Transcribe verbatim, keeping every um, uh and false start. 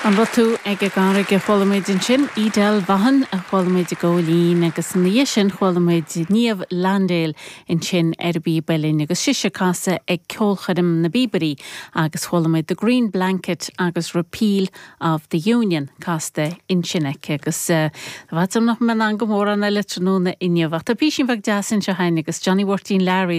An raibh tú ag an gCarraig a chuala muid ansin Edel Vaughan a chuala muid i gcóilín agus ina dhiaidh sin chuala muid Niamh Landale ansin ar an bpíob uilleann agus sise ag casadh ag ceolchoirm na bPíobairí agus chuala muid The Green Blanket agus Repeal of the Union casta ansin aici agus bhfad nach mé an go mór an eile tráthnóna inniu ach tá píosa beag deas anseo againn agus Johnny Mháirtín Learaí